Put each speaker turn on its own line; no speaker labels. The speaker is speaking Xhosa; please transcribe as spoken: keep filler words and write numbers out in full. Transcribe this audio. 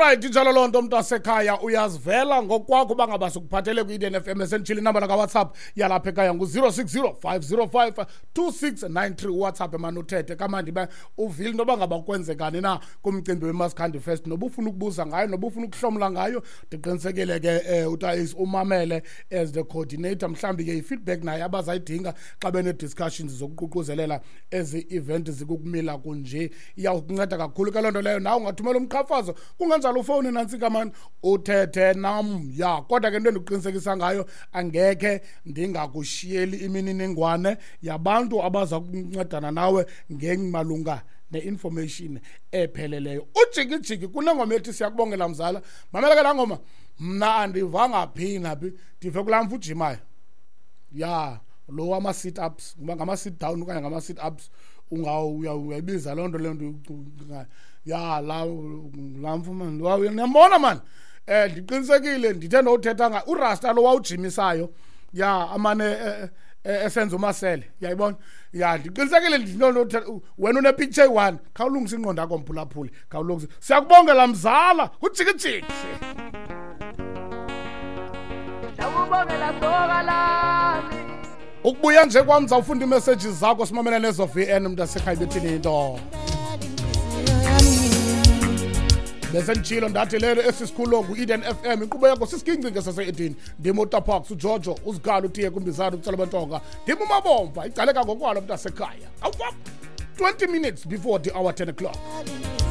Alright, injalo loo nto, mntasekhaya, uyazivela ngokwakho uba ngaba sikuphathele kwi-Eden F M. Esenditshile inamba kaWhatsApp yalapha ekhaya ngu-zero six zero five zero five two six nine three. WhatsApp emane uthethe kamandi ba uvile into yoba ngaba kwenzekani na kumcimbi weMaskandi Fest, noba ufuna ukubuza ngayo, noba ufuna ukuhlomla ngayo. Ndiqinisekile ke um uTais umamele as the coordinator, mhlawumbi ke i-feedback naye abazayidinga xa benee-discussions zokuququzelela ezi event zikukumila kunje, iyawukunceda kakhulu ke loo nto leyo. Nawe ungathumela umqhafazo, kungenjalo ufowuni nantsika mani uthethe nam ya. Kodwa ke into endikuqinisekisa ngayo, angekhe ndingakushiyeli imininingwane yabantu abaza kuncedana nawe ngemalunga ne-information epheleleyo. Ujikijiki kunengoma ethi "Siyakubongela Mzala". Mamela ke laa ngoma, mna andivanga phi naphi, ndive kulaa mfo ujimayo ya lo wama-sit ups, ngoba ngama-sit down okanye ngama-sit ups, uyayibiza loo nto leyo nto ya la laa mfo mani, niyambona mani. um ndiqinisekile ndithe ndowuthetha nga urasta lo wawujimisayo ya amane eh, eh, esenza umasele, uyayibona ya. Ndiqinisekile ndinto wena une-picture eyi-one. Khawulungisa ingqondo yakho, mphulaphuli, khawulungisa. "Siyakubongela Mzala", ujikijiki.
Siyakubongela soka lami.
Ukubuya nje kwam ndizawufunda ii-messages zakho, simamela nezo V N, mntasekhaya, bethini into. Besenditshilo ndathi lelo esi sikhululo ngu-Eden F M, inkqubo yakho sisigincinge sase-Eden. Ndim uTaparks, uJojo, uzigala utiye kumbizana utsala bentonga, ndim uMabomva icaleka ngokwalo, mntasekhaya. Awuva, twenty minutes before the hour ten o'clock.